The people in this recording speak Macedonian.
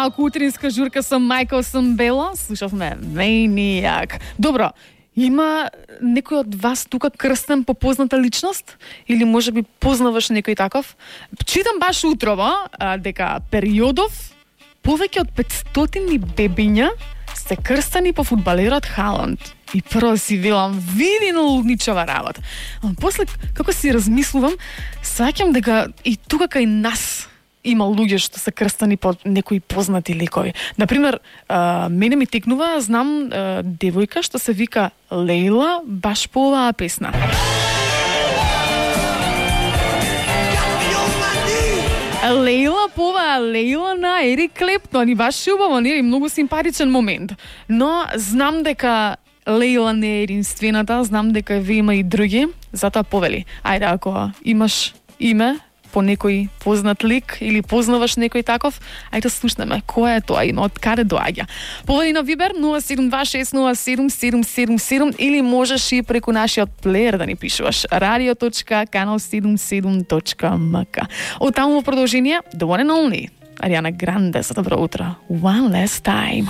малку утринска журка со Майкл Самбело. Слушавме Maniac. Добро, има некој од вас тука крстен по позната личност? Или може би познаваш некој таков? Читам баш утрово дека периодов повеќе од 500 бебиња се крстени по фудбалерот Халанд. И прво си велам, види на лудничава работа. А после, како си размислувам, саќам дека и тука кај нас има луѓе што се крстани по некои познати ликови. Например, мене ми текнува, знам девојка што се вика Лейла баш по оваа песна. Лейла пова Лейла на Ерик Клептон и баш убаво, нели, многу симпатичен момент. Но знам дека Лейла не е единствената, знам дека ве има и други, затоа повели. Ајде, ако имаш име по некој познат лик или познаваш некој таков, ајде слушнеме кој е тоа име, од каде доаѓа. Повели на Вибер 0726077777 или можеш и преку нашиот плеер да ни пишуваш radio.canal77.mk. Од таму во продолжение The One and Only Ариана Гранде за добро утро. One Last Time.